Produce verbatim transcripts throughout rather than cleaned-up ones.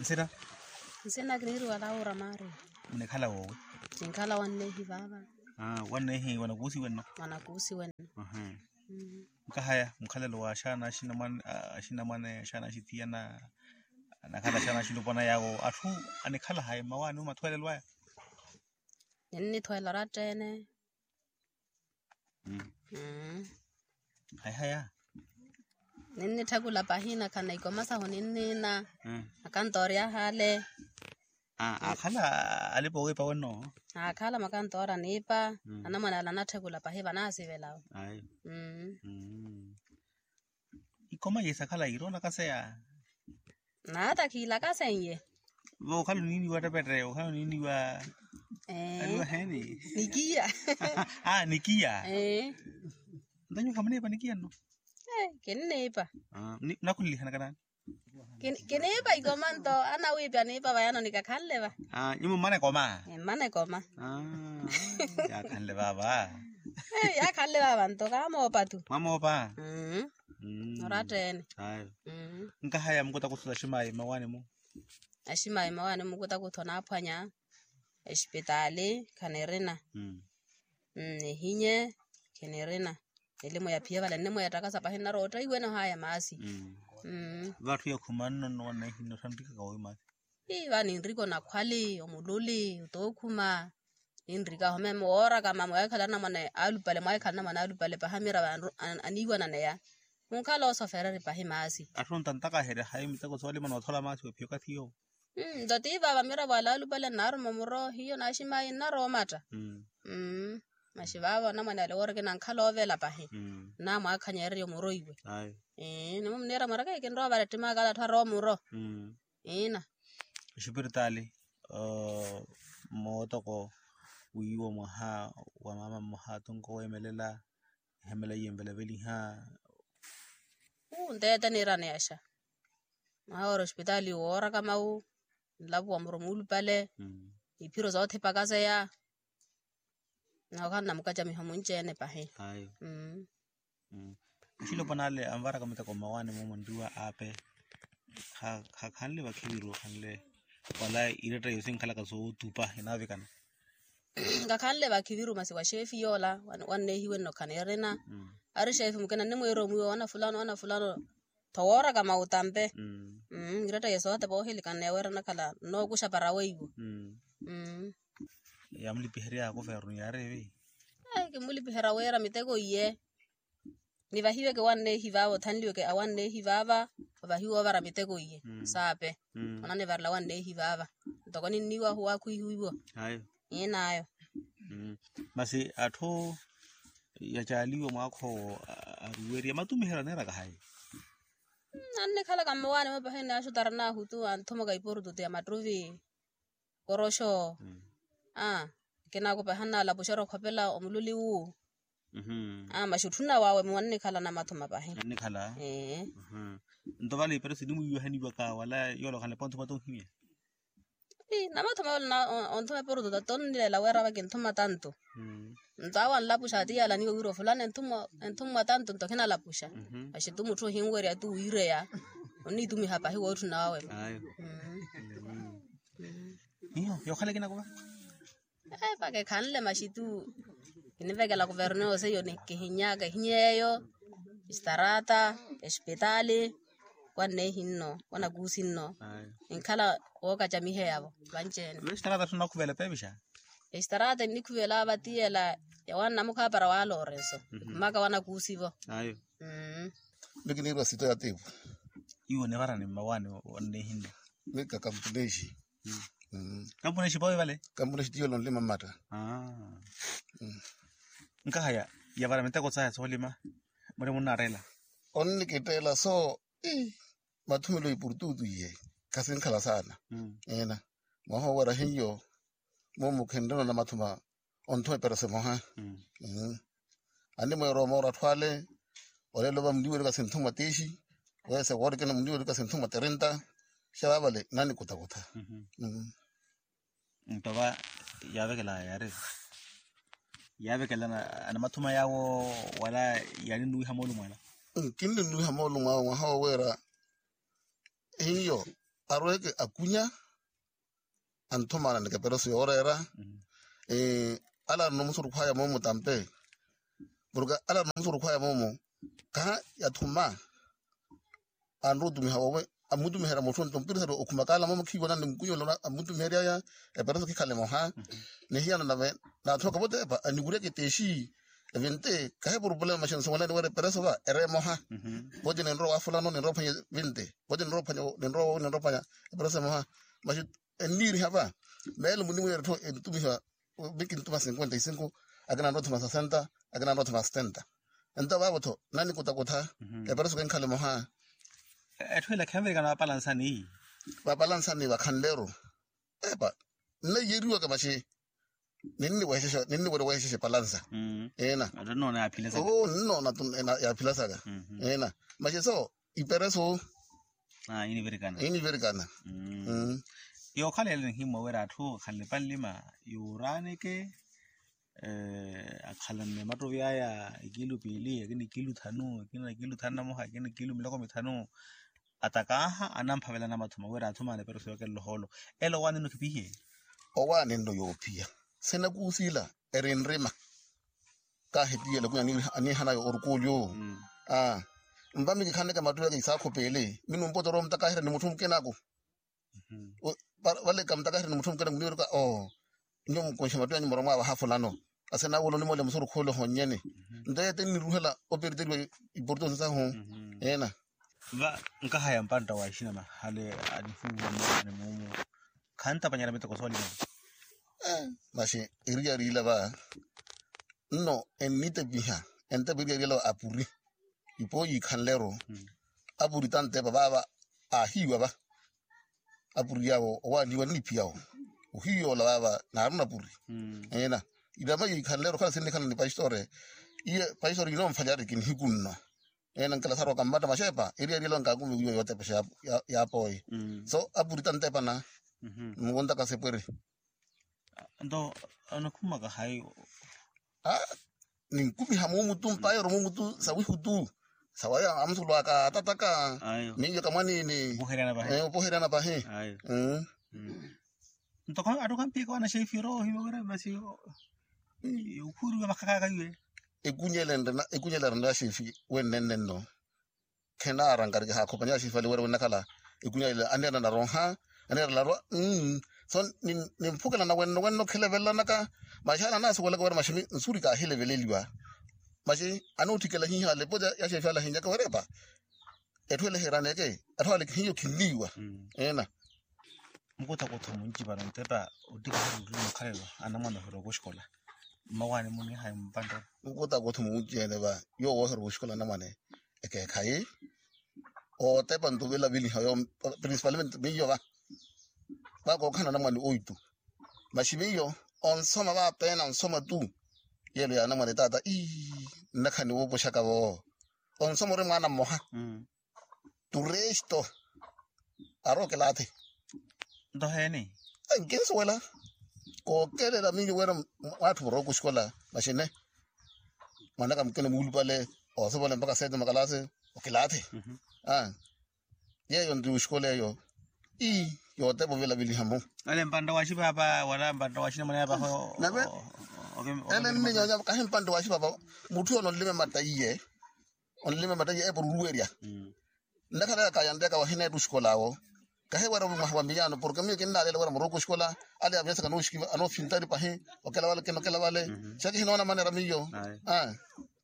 Nsina. Nsina kiniiriwa laura maria. Munikhala woowi? Kinkhala wanneehi vaava. Wanneehi wanakuusi wenno? Wanakuusi wenno. Nkahaya mukhalelo wa axaana axinamwane axaana axitiyana, anakhala axaana axilopwana yaawo atthu anikhala hayi mmawaani omathweelelo aya? Ninnithweela oratta-ene. Hayi haya. Ninnitthakula pahi nakhala na ikoma sahu ninniina. Akantoori ahaale. Aakhala alipa owiipa wenno? Aakhala makantoori aniipa. Anamwane ale anatthakula pahi vanaasivelawo. Ikoma iye sakhala yiiroonaka seya? Naata khiilaka seiye. Vo okhala oniiniwa ttepette okhala oniiniwa? Aliwa heeni? Nikiya. Aa nikiya. Ntanyu khamuniipa nikiya nno? Kinniipa. Nakhulilihanaka naani? Kiniipa ikoma nto anawiipi aniipa vayano nikakhanle va. Nyumo mmana ekoma? Mmana ekoma. Yaakhanle vaava. Yaakhanle vaava nto kaamoopa tu. Mwamoopa? Oratta-ene. Nkahaya mukutakutho aximaayi mmawaani-mu? Aximaayi mmawaani-mu mukutakutho onaaphwanya. Exipitaali khanirina. Nihinye khinirina. Elimu ya phiya vale nne mweettakasa pahi nnarootta iwene ohaya maasi. Vatthu yakhuma nno nno wanneehi nno thanrikaka woowi maasi. Ii va ninrika onakhwali omululi otookhuma. Ninrika ahome moorakama mwaahikhala anamwane alupale mwaahikhala anamwane alupale paha miira vanru aniiwananeya. Munkhala osofereri pahi maasi. Atthu ontantakaherya hayi miteko soolima noothola maasi wephiya okathi yoowo. Nto tiivaava miira vwala alupale nnaaruma omuro hiyo naaximayi nnaroomatta. Masi vaavo anamwane ale wooreke nankhala oovela pahi. Nnaamwaakhanyererya omuro iwe. Nimumniira mwareke kinrowa vale ttimaka ale atthu arowa omuro. Iina. Exipiritaali mootoko wiiwo mwaha wa maama mmoha atunka oweemelela. Ehemela iye envelaveliha. Uu nteete niiraneyaxa. Mwaha woora ospitaali wooraka mawu. Nlapuwa muro muulupale. Iphiro soothipakaseya. Nookhala namukacamiho munci-ene pahi. Ayo. Muxilopwana ale anvaraka miteko mmawaani mumo nriwa aape. Khakhanle vakhiviru khanle wala iretta yosi nkhalaka sootupa enaavikana. Kakhanle vakhiviru masi wa xeefi yoola wanneehiwe nno khanirina. Ari xeefi mukina nnimwiira omwiiwa wana fulano wana fulano. Tho wooraka mautampe. Iretta yesu ohatepa oohilikana neeweera nakhala nnookuxa para weiwo. Yaamulipiherya yakuvernu yaareevi. Kimulipiherya wira miteko iye. Nivahiweke wanneehi vaava othanliweke awanneehi vaava. Ovahiwa ovara miteko iye saape. Onanivarela wanneehi vaava. Ntoko ninniiwahu wakhwihiwiwo. Iinaayo. Masi atthu yacaaliwa mwaakha owo aruweriya matumiheryo aneeraka hayi? Annikhalaka mmawaani mwe pahi ni axutara naahu tu anthumaka iporututu ya mattuvi. Koroxo. Akina ako pahi annaalapuxerya okhopela omululi wu. Masi otthuna wawe mwe annikhala namathuma pahi. Annikhala. Nto vale iperesi nimwiiwahaniwaka wala yoola okhanlepa onthuma tonhimya? Namathuma yoola onthuma eporututu tonnilela wira ava kinthuma tantu. Nto awo anlapuxa ati yaalaniwe wira ofulani enthumwa tantu nto khinalapuxa. Masi tu mutthu ohinwerya tu wiireya. Onniitumiha pahi wootthuna wawe. Hiyo yookhala ekinakuva. Epa kekhanle masi tu. Kinivekela kuvernu yoosi eyo kihinyaka ehinyeeyo. Esitarata, esipitaali, wanneehi nno wanakuusi nno. Enkhala wookacamiheya-vo vanci-ene. Esitarata tthuna okhuvela epeepixa. Esitarata ennikhuvela vatiyela ya wannamukhapara wa lorenso. Ekhumaka wanakuusi-vo. Miki niirwa sito ya tiipu. Iwo nivarani mmawaani wanneehi nno. Mika kampuneexi. Kampuneexi pawe vale. Kampuneexi tiyo lonlima mmatta. Nkahaya yavara miteko saya soolima muri munnatteela. Onnikitteela so. Mathumelo ipurututu iye khasinkhala saana. Eena mwaha owera hiyo. Mumu khinrino namathuma onthuma eperese moha. Animweera omoora atthu ale. Olelo va muliwerika sinthumwa tiixi. Wese woorikina muliwerika sinthumwa tirinta. Xa vaavale nanikutakutha. Nto va yaavekelaya yaari yaavekela anamathuma yaawo wala yaaninnuwiha moolumo ala? Kinninnuwiha moolumo awe mwaha woweera hiyo. arweke akunya. Anthumananeke pereso yooreera. Ala arina omusurukhwaya moomo tampe. Porke ala arina omusurukhwaya moomo kaha yathuma anrowa otumiha wowe amutumiherya mutthu nto mpirisari okhumakaala moomo khiiwona ni mukunyolo amutumiheryaya. Epereso khikhale moha nihiyana nave naathoka votepa aniwuryaka etexi evinte kahi purupulema maxi nsuwelani wira epereso va ere emoha. Vote ninrowa wafulano ninrowa ophwanya vinte vote ninrowa ophwanya ninrowa wowi ninrowa ophwanya epereso emoha. Maxi enniiriha va meelo muniwira etthu entumiha. Mikintuma cinquenta y cinco akina anrowa othuma sesenta akina anrowa othuma setenta. Ento vaavo-tho nanikutakutha epereso kenkhala emoha. Etthu ela khenvirikana vapalansani vapalansani vakhanleru epa nnaiyeriwaka maxi ninniwere wexexa epalansa. Ina oo ninnoona tu yaphilasaka ina maxi so ipereso inivirikana. Yookhala ele nihimmwa wira atthu akhanle panlima yuuraaneke akhalanne mattovi aya ekilu piili akina ekilu thanu akina ekilu thanu na moha akina ekilu miloko mithanu. Atakaaha anamphavelana mathuma wira athumane epereso yookelela ohoolo ele owaani nno khipihiye. Owaani nno yoophiya sinakuusila eri nrima. Kaahitiyela kunya aniihanayo orukuulyo. Aa mpa mikikhaneke mattu yaka isaakhupeele minumpota orowa omutakaherya ni mutthu mukinaku. Vale kamutakaherya ni mutthu mukinaku niiruka oo nyuwo mukunshe mattu yanyu muromwa vaha fulano. Asenawula onimoole musurukhuule ohonnyene nto yete nniruhela operiteriwa iportonsi sahu. Ena va nkahaya mpantta wa ixinama hale anihuuwa mwaani muumu khantapanyerya miteko soolima. Maxi eriyari ila va nno ennitepiha entepa eriyari ila va apuri ipo yiikhanleru apuri tantepa vaava aahiiwa va. Apuri yaawo owaaliwa nniphiyaawo ohiiyoola vaava naarina apuri. Ena irama yiikhanleru okhala sinnikhala ni pastore iye pastore yinoomfalyaari kinihiku nno. Ena nkela saroka mmatta maxeepa eriyari ela onkakumiwiwa yootepexa yaapoye so apuri tantepana. Nmukontaka sepweri nto onikhumaka hayi. Ninkumiha muumu tu mpaayoro muumu tu sawihu tu sawaya amusulu aka atataka miyo kamwanini opoherana pahi. Ntoko attoka mpiika wana xefi orowa ohiwa wira masi okhuuriwa makhakaka iwe. Ekunyela erina xefi wennenne nno khenaara nkariki haakhopanya xefi ale wira winnakhala ekunyela aniira naronha aniira narwa. So nimphukelana wenno wenno khelevelanaka maxi ale anaasuwelaka wira maxi nsuri kaahileveleliwa. Maxi anootthikela hiihaale pote ya xefi ale ahinnyaka wira epa etthu ele eheeraneke atthu ale hiyo khinniiwa. Ena mukutakutho munci vano ntepa ottikiherya ottini okhalelo anamwane ohirowa kuxikola mmawaani munihayi mpanttoro. Mukutakutho munci ene va yoowo ohirowa kuxikola anamwane ekeekhayi ootepa nto vilaviliha yo principalmente miyo va va kookhala anamwane oitu. Maxi miyo onsoma vapeena onsoma tu yelo ya anamwane taata ii nnakhani woopoxaka vo onsoma ori mwaana mmoha tu resto arookelaathi. Nto heeni nkinsuwela kookelela miyo wira mwatthu murowa kuxikola maxine mwanaka mukina muulupale oosopole mpaka seete makalaasi okilaathi. Yeeyo nti wuxikola eyo ii yootepa ovilaviliha-mo. Ale mpantta wa xipaapa wala mpantta wa xinamwane yaapaho nave ele nninyonya kahi mpantta wa xipaapa mutthu yoona onlime matta iye onlime matta iye epo oruruwerya nnakhalaya kayantteyaka wahina etthu oxikola awo kahi wira mwaha wa miyaano porke miyo kinnaalela wira murowa kuxikola ale avinyasaka anoofintari pahi okela vale kina okela vale xa kihinoona manera miyo.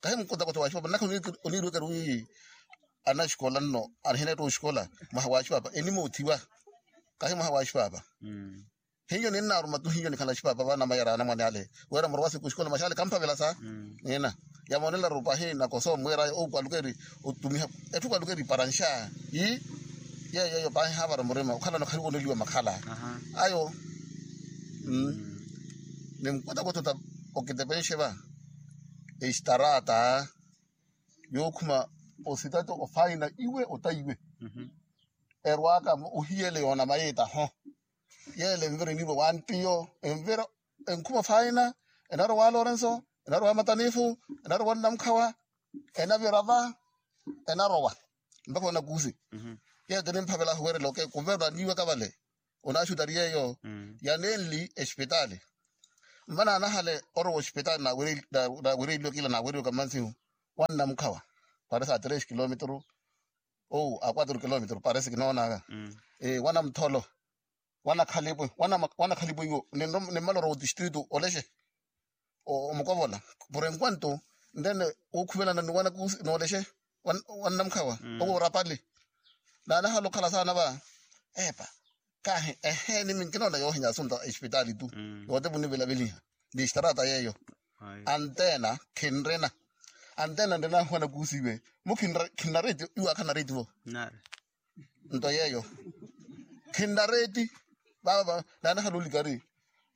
Kahi mukotakota wa xipaapa nnakhala oniirwekeri wi anaxikola nno anihina etthu oxikola mwaha wa xipaapa enimoothiwa kahi mwaha wa xipaapa. Hiyo ninnaaruma tu hiyo nikhala xipaapa va namayara anamwane ale wira murowa siku oxikola maxi ale kamphavelasa. Nina yamoonelaru pahi nakosa omwiiraya oukwaluka eri otumiha etthu kwaluka eri paranxa ii yeeyo eyo pahi haavara murima okhalana okhaliwa oneliwa makhala ayo. Ni mukutakuta okitepenxe va estarata yookhuma ositati ofaina iwe ota iwe erwaaka ohiyele yoona mayiitaho yeele envira eniirwa wantiyo envira enkhuma ofaina enarowa wa lorenso enarowa wa matanifu enarowa onnamukhawa enavira va enarowa mpakha onakuusi Yeyo tinimphavela ahuwerela oke kuverwa niiwaka vale. Onaxutari yeyo yanenli espitaali. Mma naanahale orowa ospitaali nawereliwe kila naaweriwe kamansihu. Wannamukhawa parece a tres kilometro ou a quatro kilometro parece kinoonaka. Wanamutholo wanakhalipo wanakhalipo iwo. Nimmala orowa otistritu olexe omukovola. Por enquanto nrene wukhuvelana ni wanakusi noolexeya wannamukhawa owo orapali. Naanahala okhala saana va epa kahi eheeni minkinoona yoohinya asunta espitaali tu. Yoote vunivelaveliha ni estrata yeeyo. Antena khinrina antena nrina wanakusi iwe mu khinna reeti iwe akhanna reeti vo. Nto yeeyo khinna reeti vava naanahala olikari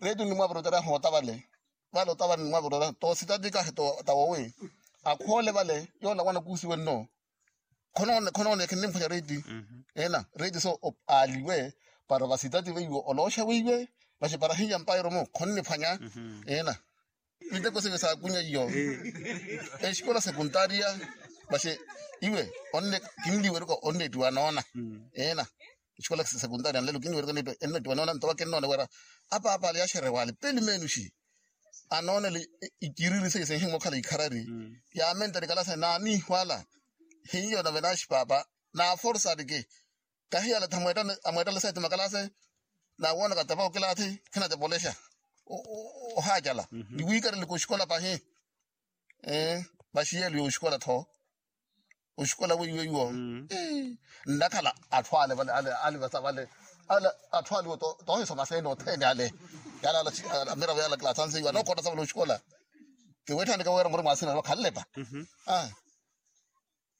reeti onimwavira otereha oota vale. Vale oota vale onimwavira otereha to sitati kahi ta wowi akhoole vale yoola wanakusiwe nno. Khonoone khinimphonya reeti ena reeti so aaliwe para vasitati veiwe olooxa weiwe. Vaxi para hinya mpairo mu khonniphwanya ena miteko sive saakunya iyo. Exikola sekuntaria vaxi iwe onne kinliwerika onnettiwa noona ena exikola sekuntaria nlelo kinliwerika ennettiwa noona nto vakinnoona wira apaapa ale yaxerewa ale peli menuxi anoonele ikiriri seiye sinhimwa okhala ikharari yaamentari kalasa naaniihwala hiyo nave naaxi paapa naaforsariki. Kahiyala tha amweettale sete makalase naawoonaka tepa okilathi khinatepa olexa ohaacala ni wiikareleke oxikola pahi. Vaxi yeelo ya oxikola tho oxikola weiweiwo nnakhala atthu ale vale ale vasa vale ale atthu ale iwo toohisoma seeni othene ale. Yaala amiravo yaala kilasanse iwo anookottasa vale oxikola kiweetthani kawera muri mwaasina vakhanlepa.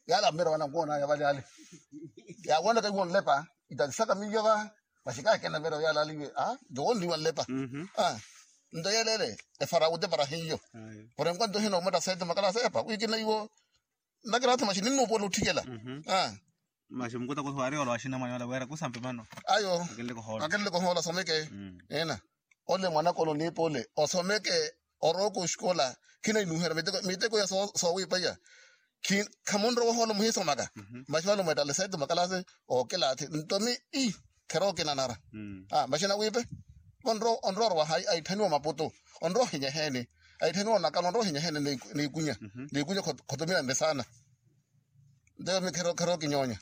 Yaala mmeera wana nkoonaya vale ale yaawoonaka iwo nlepa itatisaka miyo va. Maxikakena mmeera yaala ale iwe nto wonniwa nlepa. Nto yeeleele efara wute para hiyo. Por enquanto hino omwetta sete makalasa epa wikina iwo nnakira athu maxi ninnuupuwela otthikela. Maxi mukuta kuthi wari ola waxinamwanya ola wira kusampe mano ayo akinleke ohoola asomeke. Ena ole mwanaka ole oniipa ole osomeke orooka oxikola khinahinuuherya miteko ya soowipaiya. Khamunrowa ohoola muhisomaka maxi vale omweettale sete makalasi ookilaathi nto mi ii kherookinanara. Maxi nawiipe onrowa orowa hayi aitthaniwa maputu onrowa ohinyeheeni aitthaniwa onakala onrowa ohinyeheeni niikunya niikunya khotumilanre saana. Nto yomi kherookinyoonya.